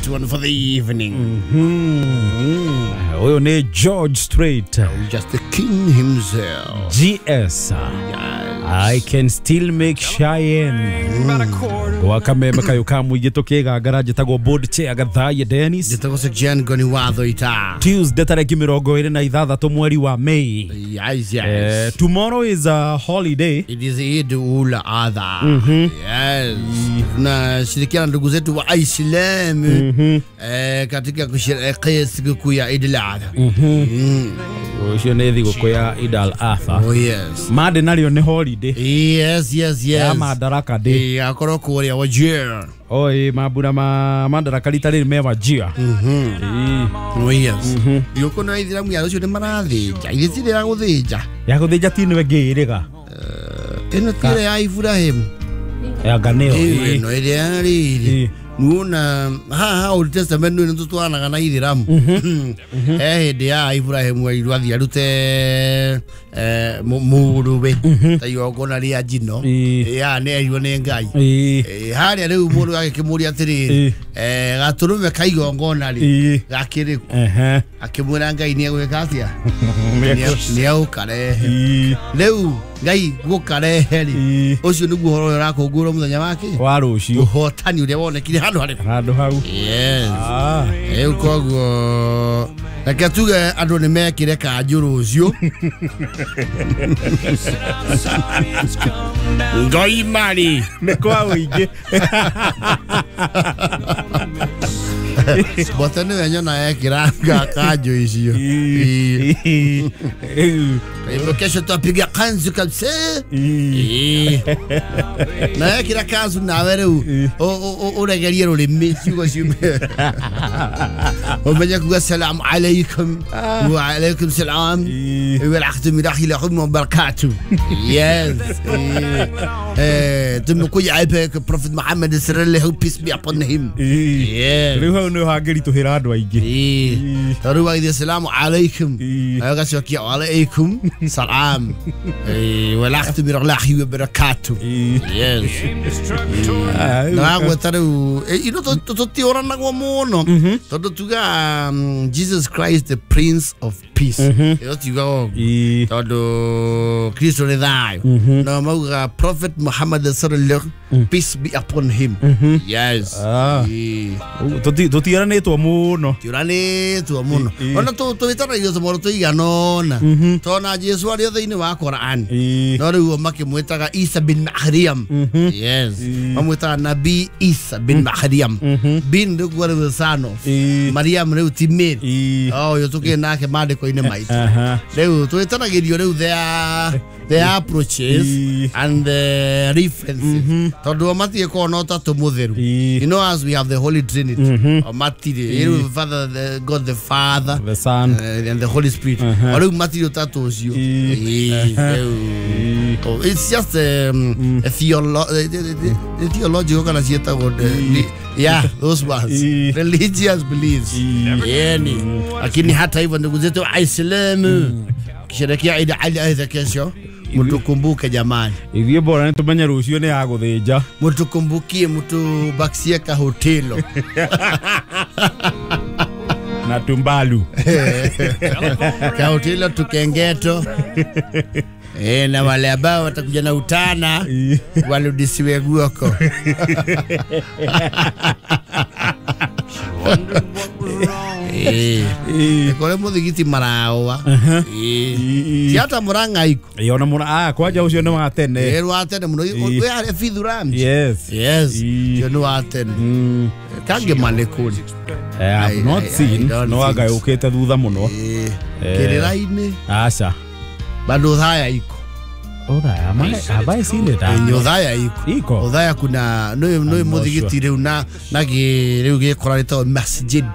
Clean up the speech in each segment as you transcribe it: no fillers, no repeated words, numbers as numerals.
last one for the evening. Huyo ni George Strait. Just the king himself. GS. Yes. I can still make Cheyenne. Gwakameme kayo ka mũingĩ tũkĩgangara njĩtagwo board chair Gathaiya Dennis. Njĩtagwo Sir Jean Ngoni wa Thoita. Tuesday tarĩki 26 mweri wa May. Yes, yes. Tomorrow is a holiday. It is Eid ul Adha. Yes. Tunashirikiana ndugu zetu wa Islamu katika kusherehekea sikukuu ya Eid al Adha. Ũcio nĩ thigũkũ ya Eid al Adha. Oh yes. Monday narĩo nĩ holiday. Yes, yes, yes. Ya Madaraka Day. Akorwo kũrĩa Wajir. Oi, mambura ma Madaraka rita rĩrĩ me Wajir. Oh yes. Thigũkũ na Aithĩramu ya rũciũ nĩ marathĩnja. Ithe tirĩ ya gũthĩnja. Ya gũthĩnja ti nĩwe ngĩĩrĩga. Ĩno ti ĩrĩa ya Ibrahim. Ya nganĩo. Ĩno ĩrĩa rĩrĩ. Nuona haha Old Testament nĩ tũtwaranaga na Ithĩramu. Hĩndĩ ya Ibrahim erirwo athiĩ arute mũrũwe ta igongona rĩa njino. Ya nĩ erirwo nĩ Ngai. Harĩa rĩu mũndũ agĩkĩmũria atĩrĩrĩ, gatũrũme ka igongona rĩ gakĩrĩ kũ? Akĩmwĩra Ngai nĩ egwĩka atĩa? Nĩ egũkarehe. Rĩu Ngai gũkarehe rĩ, ũcio nĩguo ũhoro ũrĩa ũrakũngũĩrwo mũthenya wake wa rũciũ, ũhotani ũrĩa wonekire handũ harĩkũ? Handũ hau. Yes. Rĩu koguo reke tuge andũ nĩ mekĩre kanjũ rũciũ. Ngai mari nĩ kwa ũingĩ. Bote nĩwe nyona ekĩra kanjũ icio. Hivyo kesho tutapiga kanzu kabisa. Na ekĩra kanzu nawe rĩu ũregerie rũrĩmĩ ciugo ciume. Umenye kuga salamu alaikum wa alaikum salam wa rahmatullahi wa barakatuh. Yes. Tumekuja hapa kwa Prophet Muhammad sallallahu peace be upon him. Yes. Rĩu hau nĩ hangĩritũhĩra andũ aingĩ. Tondũ waithe salamu alaikum agacokia wa alaikum salam wa rahmatullahi wa barakatuh. Yes. Na gweta rĩu ino tũtiũranagwo mũno tondũ tuga Jesus Christ the Prince of Peace. Ĩyo tiugaga ũguo tondũ Kristo nĩ thayũ. Na maugaga Prophet Muhammad sallallahu peace be upon him. Yes. Tũtiũranĩtwo mũno. Tiũranĩtwo mũno. Ona tũwĩtanagio tũmoro tũigana ũna. Tona Jesu arĩ thĩinĩ wa Quran. No rĩu makĩmwĩtaga Isa bin Maryam. Yes. Mamwĩtaga Nabii Isa bin Maryam. Bin rĩu rĩu son of Maryam rĩu ti Mary. Oh, ũyũ tũkĩrĩ nake maandĩko-inĩ maitũ. Rĩu twĩtanagĩrio rĩu the approaches and the references. Tondũ matirĩ korwo na ũtatũ mũtheru. You know, as we have the Holy Trinity. O matirĩ. Rĩu Father, the God the Father, the Son, and the Holy Spirit. O rĩu matirĩ ũtatũ ũcio. It's just a theological kana ciĩtagwo, yeah, those ones. Religious beliefs. Yani, lakini hata hivyo ndugu zetu Waislamu kisherehekea Eid al-Adha kesho, mtukumbuke jamani. Ithuĩ bora nĩ tũmenye rũciũ nĩ ya gũthĩnja. Mtukumbukie, mtubaksie ka hotelo. Na tumbalu. Ka hotelo tukengeto. Na wale ambao watakuja na utana waludisiwe guoko. Kore muthigiti marawa. Ti hata Murang'a iko. Ona Murang'a kwanja ucio nĩ wa tene. Wa tene mũno. Wĩ harĩa Fithu Ramsey. Yes. Yes. Ũcio nĩ wa tene. Kangĩma nĩ kũrĩ. I have not seen. No anga yũkĩte thutha mũno. Kĩrĩra-inĩ. Aca. Bado Othaya iko. Othaya, have I seen it? Othaya iko. Iko. Othaya kuna no muthigiti riu na riu gikora ritagwo masjid.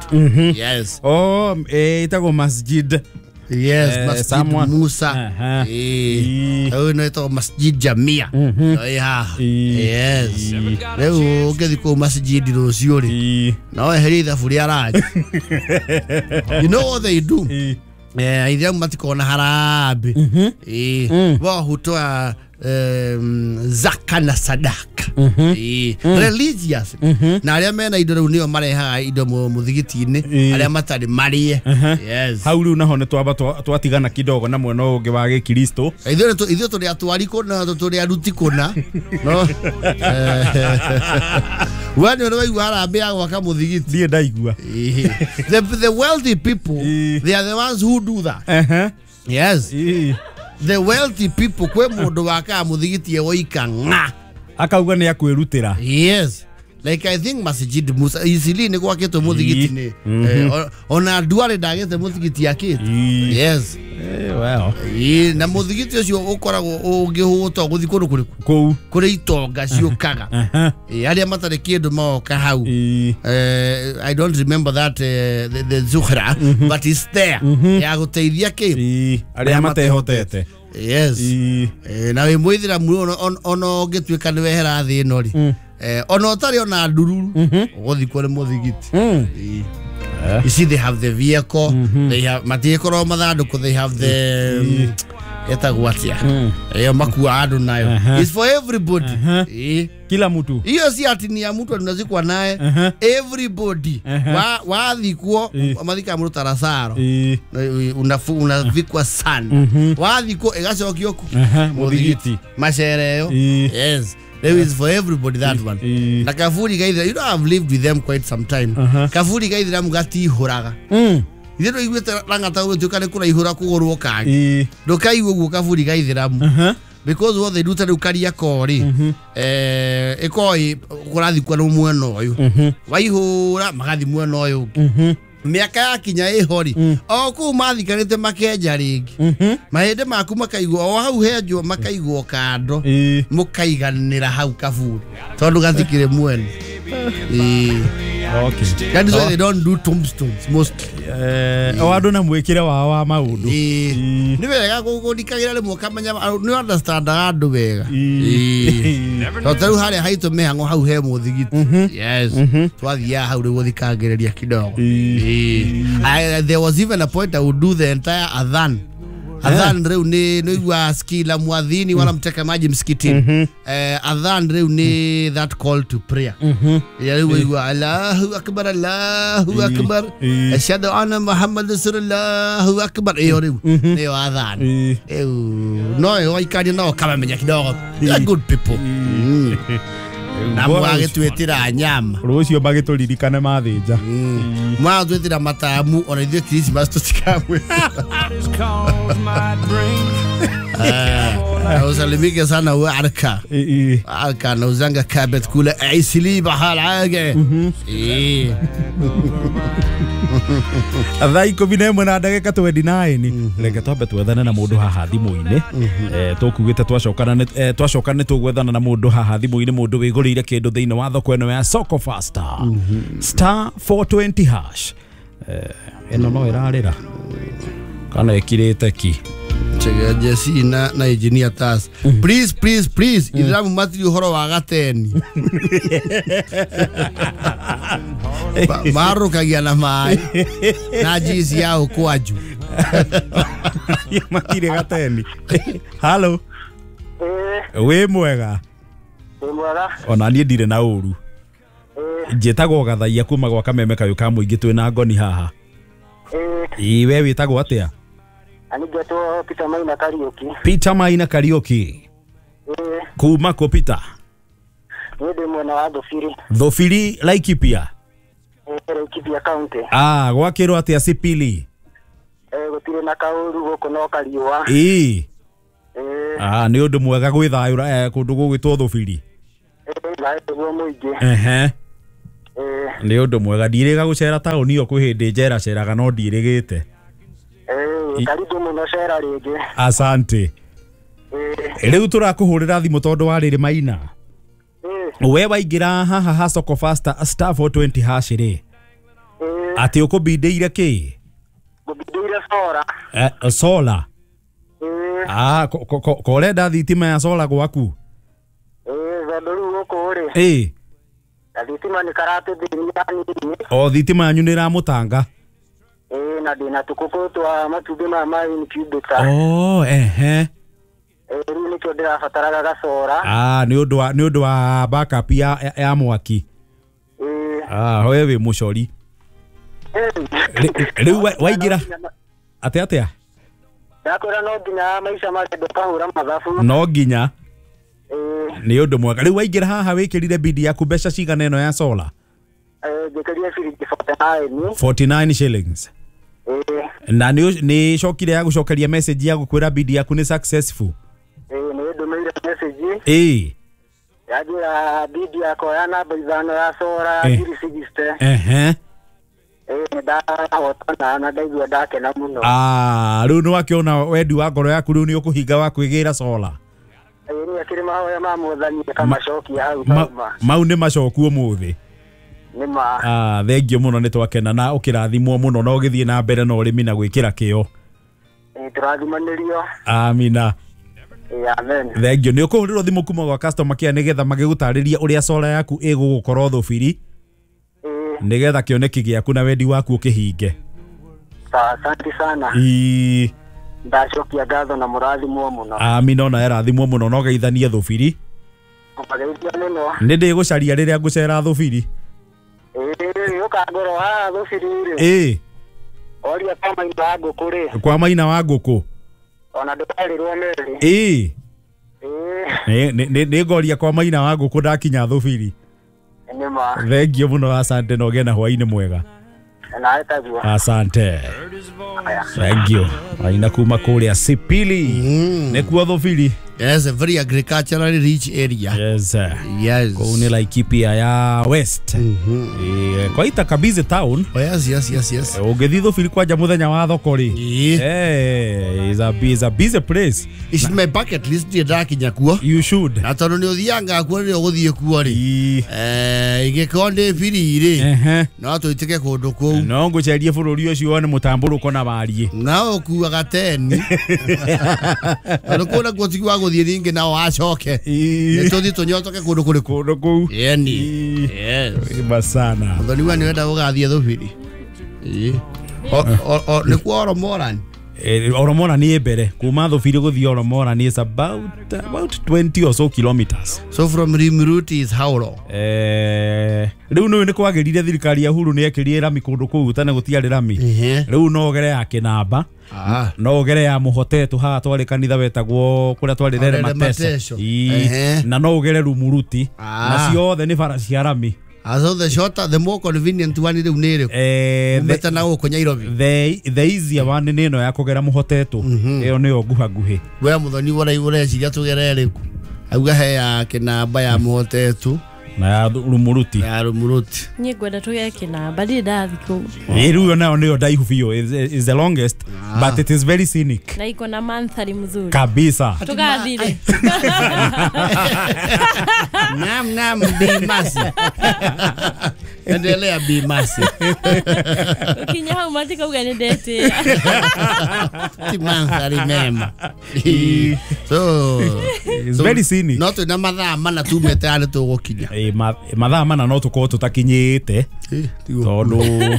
Yes. Oh, itagwo masjid. Yes, Masjid Musa. Eh. No ito Masjid Jamia. Yeah. Yes. Rĩu ũngĩthiĩ kũu masjid rũciũ rĩ, no weherie ithabu rĩa ranji. You know what they do? Aithĩramu matikoragwo na harambee. Wao hutoa zaka na sadaka. Religious. Na arĩa mena indo rĩu nĩo marehaga indo mũthigiti-inĩ, arĩa matarĩ marĩe. Yes. Hau rĩu naho nĩ twamba twatigana kidogo na mwena ũngĩ wa gĩkristo. Ithuĩ tũrĩ atwari kũna, tũrĩ aruti kũna. No. We nĩ ũrĩ waigua harambee ya gwaka mũthigiti? Ndiĩ ndaigua. The wealthy people, they are the ones who do that. Yes. The wealthy people, kwĩ mũndũ wakaga mũthigiti ewoika ng'a. Akauga nĩ akwĩrutĩra. Yes. Like I think Masjid Musa Isili nĩ gwakĩtwo mũthigiti nĩ. Ona Duale ndagĩte mũthigiti akĩte. Yes. Well. Na mũthigiti ũcio ũkoragwo ũngĩhũta ũgũthiĩ kũndũ kũrĩkũ? Kũu. Kũrĩ itonga ciũkaga. Arĩa matarĩ kĩndũ maoka hau. I don't remember that the Zuhra, but it's there. Ya gũteithia kĩ? Arĩa matehotete. Yes. Na wĩ mũithĩramu ona ũngĩtuĩka nĩ wehera thĩ ĩno rĩ. Ona ũtarĩ ona ndururu ũgũthikwo nĩ mũthigiti. You see, they have the vehicle, they have matiĩkorwo mathandũkũ, they have the etagwo atĩa ĩyo makua andũ nayo. It's for everybody. Kila mtu. Hiyo si ati ni ya mtu tunazikwa naye. Everybody. Wathikwo mathika mũndũ ta Lazaro. Unavikwa sana. Wathikwo ĩgacokio ku mũthigiti. Macereo. Yes. There is for everybody that one. Na kaburi gaithira, you know, I've lived with them quite some time. Kaburi gaithira mugatihũraga. Ithe ndũiguĩte rang'ata gũgĩtuĩka nĩ kũraihũra kũgũrwo kangĩ. Ndũkaigua ũguo kaburi gaithĩramu. Because what they do ta rĩu Kariakoo rĩ, ĩkoragwo kũrathikwo nĩ mwena ũyũ. Waihũra magathiĩ mwena ũyũ ũngĩ. Mĩaka yakinya ĩho rĩ, o kũu mathikanĩte makenja rĩngĩ. Mahĩndĩ maku makaigwo o hau henjwo makaigwo kando. Mũkaiganĩra hau kaburi. Tondũ gatikĩrĩ mwene. Okay. That is why they don't do tombstones mostly. O andũ na mwĩkĩre wao wa maũndũ. Nĩ wega gũthikagĩra rĩmwe ũkamenya nĩ understandaga andũ wega. Tondũ ta rĩu harĩa haitũ mĩhang'o hau he mũthigiti. Yes. Twathiaga hau rĩu gũthikangĩrĩria kidogo. There was even a point I would do the entire adhan. Adhan rĩu nĩ nĩigua skila muadhini wala mteka maji msikitini. Adhan rĩu nĩ that call to prayer. Ya rĩu waigua Allahu akbar, Allahu akbar, ashhadu anna Muhammad rasulullah akbar. Iyo rĩu nĩyo adhan. No waikaria nao kamamenya kidogo. They are good people. Na mwagĩtwĩtĩra nyama. Rũciũ magĩtũririkane mathĩnja. Mwagĩtwĩtĩra matamu ona ithuĩ Christmas tũtikamwĩtĩra. Usalimike sana we Arka. Arka nauzanga kabet kule Isili bahal age. Thaa 11 na ndagĩka 29. Reke twambe twethane na mũndũ haha thimũ-inĩ. Tũkugĩte twacoka nĩ tũgwethana na mũndũ haha thimũ-inĩ, mũndũ wĩgũrĩire kĩndũ thĩinĩ wa thoko ĩno ya Soko Faster. Star 420 hash. Ĩno no ĩrarĩra kana ĩkirĩte ki. Jesse na engineer Tas. Please, please, please. Ithiramu matiri ũhoro wa gateni. Marũkagia na maĩ na njici ya ũkwaju. Matirĩ gateni. Halo. Wĩ mwega? Wĩ mwega. Ona niĩ ndirĩ na ũru. Njĩtagwo Gathaia kuma gwa Kameme kayũ ka mũingĩ twĩ na ngoni haha. Ĩ we wĩtagwo atĩa? Anigetwo Peter Maina Kariuki. Peter Maina Kariuki. Kuma kũ Peter? Niĩ ndĩ mwena wa Thubiri. Thubiri Laikipia? Laikipia County. Ah, gwakĩrwo atĩa Sipili? Gũtirĩ na kaũru gũkũ no kariũa. Ah, nĩ ũndũ mwega gwĩthayũra kũndũ gũgwĩtwo Thubiri. Thayũ mũingĩ. Nĩ ũndũ mwega ndirĩga gũcera taũni ĩyo kwĩ hĩndĩ njeraceraga no ndirĩgĩte. Karibu mũno cera rĩngĩ. Asante. Rĩu tũrakũhũrĩra thimũ tondũ wa rĩrĩ Maina. We waingĩra haha ha Soko Faster star 420 hash rĩ. Atĩ ũkũbindĩire kĩ? Ngũbindĩire solar. Solar. Ah, korenda thitima ya solar gwaku? Tondũ rĩu gũkũ rĩ. Thitima nĩ karatũthĩnia hanini. O thitima yanyu nĩ ĩramũtanga? Na ndĩna tũkũkũ twa matumbĩ ma incubator. Oh, ehe. Rĩu nĩkĩo ndĩrabataraga gacora. Nĩ ũndũ wa backup ya mwaki. We wĩ mũcori. Rĩu waingĩra atĩa? Ndakwĩra no nginya maica marenda ũkahũra mathabu. No nginya. Nĩ ũndũ mwega. Rĩu waingĩra haha wĩkĩrire bidi yaku mbeca cigana ĩno ya solar? Njĩkĩrire ciringi 49. 49 shillings. Na nĩ cokire ya gũcokeria message ya gũkwĩra bidi yaku nĩ successful. Nĩ ndũmĩire message. Yanjĩra bidi yakwa ya namba 5 ya solar ya 360. Ndahotana na ndaigua ndakena mũno. Rĩu nĩ wakĩona wendi wa ngoro yaku rĩu nĩ ũkũhinga wa kwĩgĩra solar. Nĩ akĩrĩ mahoya ma Mwathani akamacokia hau kauma. Mau nĩ macoku ũmũthĩ. Nĩ ma. Thengio mũno nĩ twakena na ũkĩrathimwo mũno na ũgĩthiĩ na mbere na ũrĩmi na gwĩkĩra kĩo. Tũrathimanĩrio. Amina. Amen. Thengio nĩ ũkũhũrĩrwo thimũ kuma gwa customer care nĩgetha magĩgũtarĩria ũrĩa solar yaku ĩgũgũkorwo thũbiri. Nĩgetha kĩoneki gĩaku na wendi waku ũkĩhinge. Asante sana. Ndacokia ngatho na mũrathimwo mũno. Amina ona erathimwo mũno no geithanie thũbiri. Nĩ ndĩgũcaria rĩrĩa ngũcera thũbiri. Ũkangorwo haha thũbiri rĩ. Oria kwa maina wa ngũkũ rĩ. Kwa maina wa ngũkũ. Ona ndũkarĩrwo merĩ. Nĩ ngoria kwa maina wa ngũkũ ndakinya thũbiri. Thengio mũno, asante na ũgĩe na hwaĩ-inĩ mwega. Asante. Thank you. Aina kuma kũrĩa Sipili. Nĩkuo thũbiri. Yes, a very agriculturally rich area. Yes. Yes. Kũu nĩ Laikipia ya West. Kwaita Kabizi town. Oh, yes, yes, yes, yes. Ũngĩthiĩ thũbiri kwanja mũthenya wa thoko rĩ. Is a busy place. It's my bucket list ndirĩ ndakinya kuo. You should. Na tondũ nĩ ũthianga kuo rĩrĩa ũgũthiĩ kuo rĩ. Ingĩkorwo ndĩ biri rĩ. No tũitĩke kũndũ kũu. No ngũcerie bũrũri ũcio wone mũtambũrũko na wariĩ. Na ũkuaga teni. Tondũ kũu nakuo ti gwa gũthiĩ rĩngĩ nao acoke. Nĩ tũthiĩ tũnyotoke kũndũ kũrĩkũ? Kũndũ kũu. Yeni. Yes. Basana. Mũthoni wa nĩ wenda gũgathiĩ thũbiri. Nĩkuo Oromorani. Oromora ni mbere kuma thũbiri gũthiĩ Oromora ni is about 20 or so kilometers. So from Rimruti is how long? Rĩu nĩ kwagĩrire thirikari ya Uhuru nĩ ekĩrire rami kũndũ kũu tene gũtiarĩ rami. Rĩu no ũgere ya Kĩnamba. No ũgere ya Mũhotetũ haha twarĩ kanitha wetagwo kũrĩa twarĩ Rere Mateso. Na no ũgere Rumuruti. Na ciothe nĩ bara cia rami. So the shorter, the more convenient one rĩu nĩ ĩrĩkũ? Umĩte na gũkũ Nairobi. The easier one nĩ ĩno ya kũgera Mũhotetũ. Ĩyo nĩyo nguhaguhĩ. We mũthoni ũreciria tũgere ĩrĩkũ? Auga he ya Kĩnamba ya Mũhotetũ na ya Rumuruti. Ya Rumuruti. Niĩ ngwenda tũgere Kĩnamba, ndirĩ ndathiĩ kũu. Rĩu ĩyo nayo nĩyo ndaihu biũ, is the longest, but it is very scenic. Na iko na mandhari mzuri. Kabisa. Tugathire. Naam, naam, Bi Masi. Endelea Bi Masi. Ukinya hau matikauga nĩ ndetĩra. Ti mandhari mema. So it's very scenic. No twĩna mathaa mana tumĩte harĩa tũgũkinya. Mathaa mana no tũkorwo tũtakinyĩte tondũ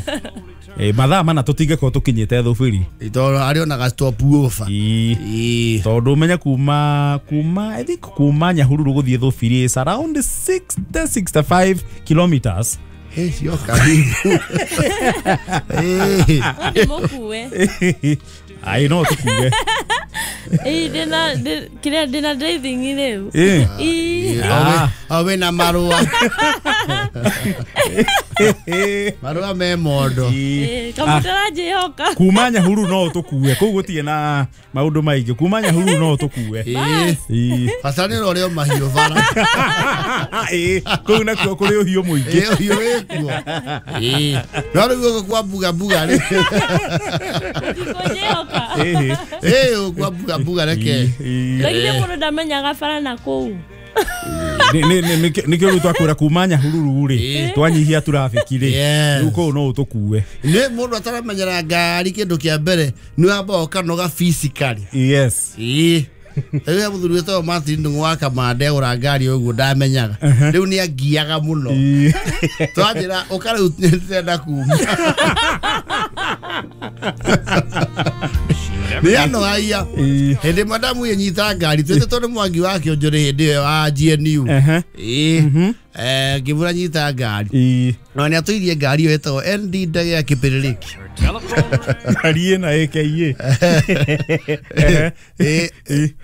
mathaa mana tũtingĩkorwo tũkinyĩte thũbiri. Tondũ arĩ onaga stop over. Tondũ ũmenye kuma I think kuma Nyahururu gũthiĩ thũbiri is around 60 65 kilometers. Sio karibu. Mũkue. Ai no tũkue. Ndĩna ndĩna driving rĩu. Wĩna marũa. Marũa me mondo. Kamũtaranjĩhoka. Kuma Nyahururu no tũkue. Kũu gũtirĩ na maũndũ maingĩ. Kuma Nyahururu no tũkue. Bata nĩ ũrĩa mahiũ bara. Kũu nakuo kũrĩ ũhiũ mũingĩ. Ũhiũ wĩkuo. No rĩu gũkũ kwa mbuga mbuga rĩ. Ndikũnjĩhoka. Kwa mbuga mbuga reke. Lakini mũndũ ndamenyaga bara na kũu. Nĩkĩo rĩu twakwĩra kuma Nyahururu rĩ twanyihia traffic rĩ rĩu kũu no ũtũkue. Nĩ mũndũ ataramenyera ngari kĩndũ kĩa mbere nĩ wamba ũkanoga physically. Yes. Rĩu he mũthuri wĩtagwo Martin Ndung'u wa Kamande agũra ngari ũguo ndamenyaga. Rĩu nĩ angiaga mũno. Twanjĩra ũka rĩu nĩndĩrenda kuma. Nĩ anogagia. Hĩndĩ madamu yenyita ngari twĩte tondũ Mwangi wa Kĩonjorĩ hĩndĩ ĩyo wa GNU. Ngĩmwĩra nyita ngari. No nĩ atũirie ngari ĩyo ĩtagwo ND ndege ya Kĩpĩrĩrĩki. Ngari ĩna AKA.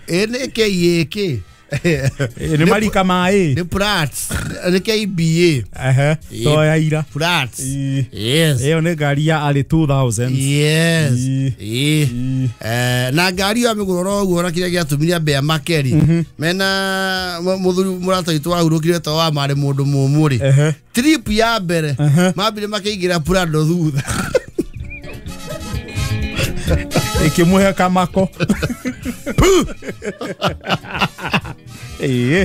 Nĩ KA kĩ? Nĩ marika maĩ. Nĩ Prats. Nĩ KBA. To ya ira. Prats. Yes. Ĩyo nĩ ngari ya early 2000. Yes. Na ngari ya mĩgũroro ũguo na kĩrĩa gĩatũmire ambe amakeri. Mena mũthuri mũrata witũ wahurũkire ta wa marĩ mũndũ mũmũ rĩ. Trip ya mbere mambire makĩingĩra Prado thutha. Ikĩmũhe kamako.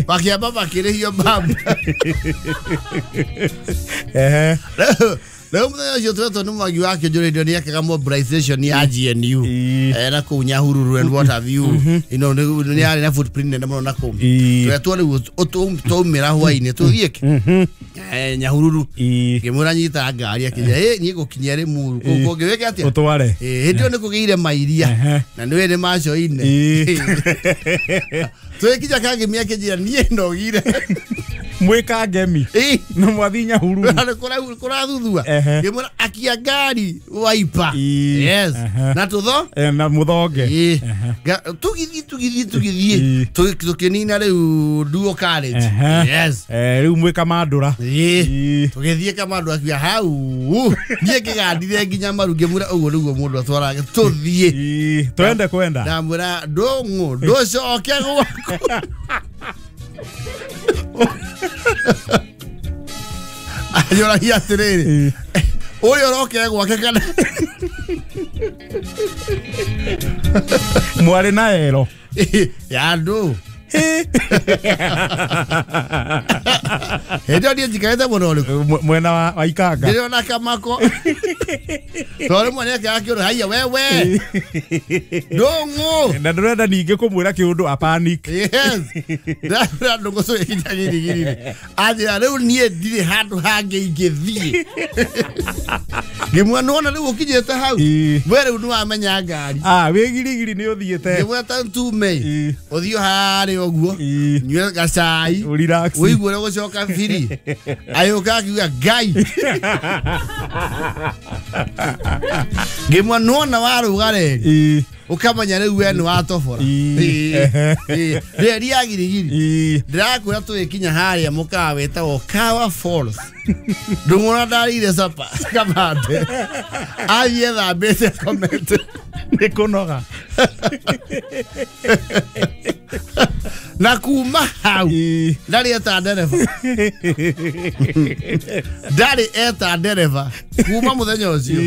Makĩamba makĩrĩhio mbabu. Rĩu mũthenya ũcio twetwo nĩ Mwangi wa Kĩonjorĩ ndio nĩekaga mobilization ya GNU na kũu Nyahururu and what have you. You know, nĩ yarĩ na footprint nene mũno na kũu. Twetwo rĩu twaumĩra hwainĩ tũthiĩ kĩ Nyahururu. Ngĩmwĩra nyita ngari akĩnjĩra niĩ ngũkinyia Rĩmuru kũu kũngĩ wĩke atĩa? Ũtware. Hĩndĩ ĩyo nĩ kũgĩire mairia na nĩũĩ nĩ macoine. Twĩkinya Kangemi akĩnjĩra niĩ nogire. Mwĩka ngemi. Na mwathi Nyahururu. Kũrathuthua. Ngĩmwĩra akia ngari waipa. Yes. Na tũtho? Na mũthonge. Tũgĩthiĩ tũkĩnina rĩu Duo College. Yes. Rĩu mwĩ Kamandũra. Tũgĩthiĩ Kamandũra akiuga hau. Niĩ ngĩgandire nginya maru ngĩmwĩra ũguo nĩguo mũndũ atwaraga tũthiĩ. Twende kwenda. Ndamwĩra ndũng'ũ ndũcoke gwaku. Anjũragia atĩrĩrĩ ũyũ ũrokire gwake kana mwarĩ na ero ya andũ. Hĩndĩ ĩyo niĩ njikarĩte mũno ũrĩkũ? Mwena wa Ikanga. Ndĩrona kamako. Tondũ rĩmwe nĩekaga kĩũndũ haiya wewe ndũng'ũ. Na ndũrenda ningĩ kũmwĩra kĩũndũ a panic. Yes. Ndamwĩra ndũng'ũ tũgĩkinya Girigiri. Anjĩra rĩu niĩ ndirĩ handũ hangĩ ingĩthiĩ. Ngĩmwĩra nĩwona rĩu ũkinyĩte hau. We rĩu nĩwamenya ngari. Wĩ Girigiri nĩ ũthiĩte. Ngĩmwĩra ta ntume. Ũthiĩ harĩa ũguo. Nyue gacai. Ũigue ũrĩa ũgũcoka biri. Agĩũka akiuga Ngai. Ngĩmwĩra nĩwona warũga reri. Ũkamenya rĩu we nĩwatobora. Reri ya Girigiri. Ndĩrakwĩra tũgĩkinya harĩa mũkawa wĩtagwo Kawa Falls. Ndũng'ũra ndarĩire capa kamande. Athiĩ ethambĩte akomete. Nĩ kũnoga. Na kuma hau ndarĩ eta ndereba. Ndarĩ eta ndereba kuma mũthenya ũcio.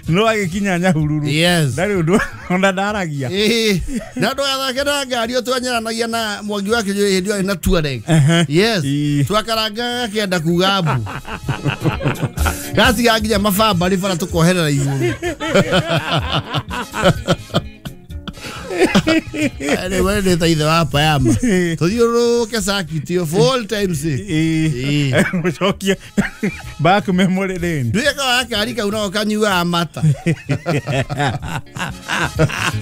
No agĩkinya Nyahururu. Yes. Ndarĩ ũndũ ona ndaragia. Na ndũgathake na ngari ĩyo twanyaranagia na Mwangi wa Kĩonjorĩ hĩndĩ ĩyo arĩ na Tuareg. Yes. Twakarangaga gakĩenda kuga mbu. Gatiga nginya mabamba bara tũkoherera igũrũ. Anyway, nĩ ta ithe wa payama. Tũthiũrũrũke circuit ĩyo full time sake. Mũcokie back memory lane. Nduĩka wa gakari kau nako kanyuaga mata.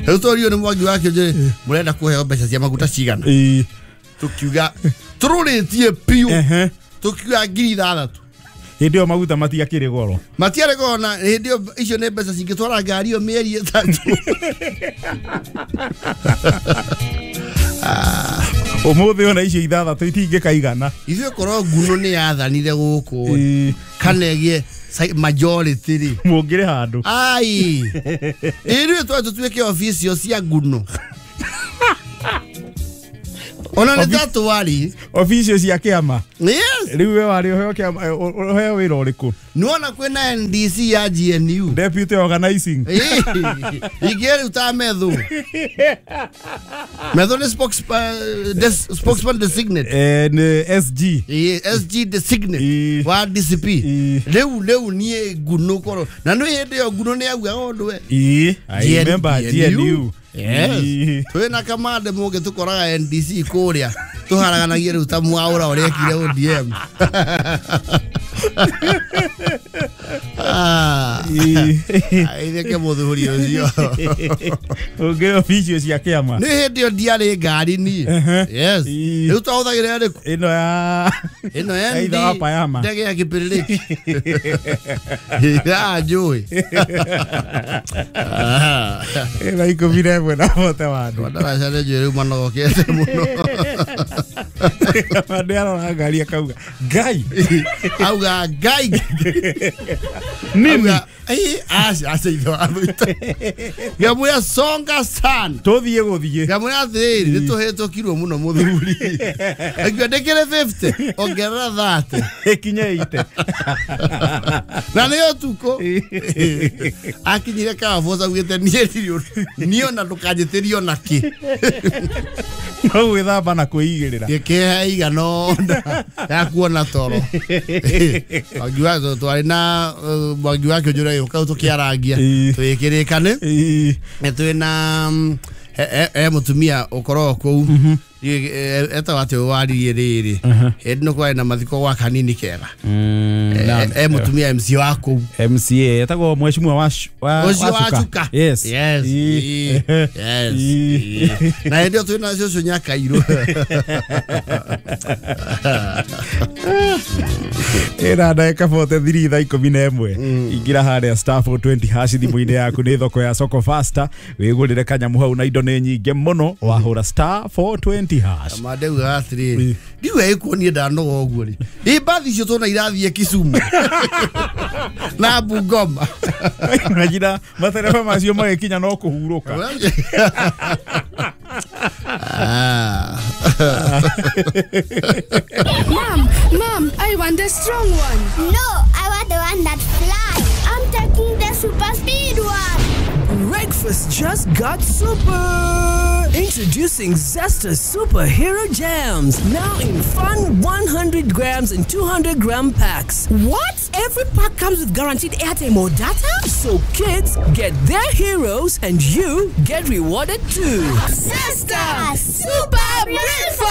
Rĩu tũrio nĩ Mwangi wa Kĩonjorĩ mũrenda kũheo mbeca cia maguta cigana. Tũkiuga tũrũrĩtie biũ. Tũkiuga 6,000. Hĩndĩ ĩyo maguta matiakĩrĩ goro. Matiarĩ goro na hĩndĩ ĩyo icio nĩ mbeca cingĩtwara ngari ĩyo mĩeri 3. Ũmũthĩ ona icio 6 itingĩkaigana. Ithuĩ korwo nguno nĩ yathanire gũkũ kana ĩgĩe majority rĩ. Mũngĩrĩ handũ. Ai. Ithuĩ twatũ tũtuĩke official cia nguno. Ona nĩ tatwari official cia kĩama. Yes. Rĩu we warĩ ũheo kĩama ũheo wĩra ũrĩkũ? Nĩwona kwĩna NDC ya GNU. Deputy organizing. Ingĩ rĩu ta Methu. Methu nĩ spokesman designate. Nĩ SG. SG designate wa DCP. Rĩu niĩ nguno korwo. Na nĩ hĩndĩ ĩyo nguno nĩ yaugaga ũndũ we. I remember GNU. Yes. Twĩna kamande mũngĩ tũkoraga NDC kũrĩa tũharaganagia rĩu ta mwaũra ũrĩa ekire ODM. Aitheke mũthuri ũcio. Ũngĩ obici cia kĩama. Nĩ hĩndĩ ĩyo ndiarĩ ngari niĩ. Yes. Rĩu twahũthagĩra ĩrĩkũ? Ĩno ya Ĩno ya ithe wa Payama. Ndege ya kĩpĩrĩrĩki. Ya njũĩ. Ĩna 11 na bote wandu. Ndaraca nĩ njũĩ rĩu manogokete mũno. Andũ arora ngari akauga Ngai. Auga Ngai. Nini? Aca aca ithe wa mũita. Ngamwĩra songa sana. Tũthiĩ gũthiĩ. Ngamwĩra atĩrĩrĩ nĩ tũhĩtũkirwo mũno mũthuri. Akiuga ndĩkĩrĩ 50 ongerera 30. Ĩkinye 80. Na nĩ ũtukũ. Akinyire Carrefour augĩte niĩ ndirĩ ũndũ. Niĩ ona ndũkanjĩtĩrie ona kĩ. No gwĩthamba na kwĩigĩrĩra. Gĩkĩhe igana ũna ya kuona toro. Mwangi wa twarĩ na Mwangi wa Kĩũnjũra gĩũka tũkĩarangia tũgĩkĩrĩkane. Twĩna he mũtumia ũkoragwo kũu etagwo atĩ waririe rĩrĩ hĩndĩ ĩno kwarĩ na mathiko gwa kanini kega. He mũtumia MC wa kũu. MCA etagwo mheshimiwa wa Chuka. Yes. Yes. Yes. Na hĩndĩ ĩyo twĩna cũcũ Nyakairũ. Ĩna ndagĩka 43 thaa 11. Ingĩra harĩa star 420 hash thimũ-inĩ yaku nĩ thoko ya Soko Faster wĩgũrĩre kanyamũ hau na indo nĩ nyingĩ mũno wahũra star 420 hash. Mandeugaga atĩrĩrĩ ndiuga ĩkuo niĩ ndanoga ũguo rĩ ĩ mbathi icio tuona irathiĩ Kisumu na Bungoma. Imagine matereba macio magĩkinya no kũhurũka. Mom, I want the strong one. No, I want the one that flies. I'm taking the super speed one. Breakfast just got super. Introducing Zesta Superhero Jams, now in fun 100 grams and 200 gram packs. What? Every pack comes with guaranteed airtime or data? So kids get their heroes and you get rewarded too. Zesta Super Breakfast!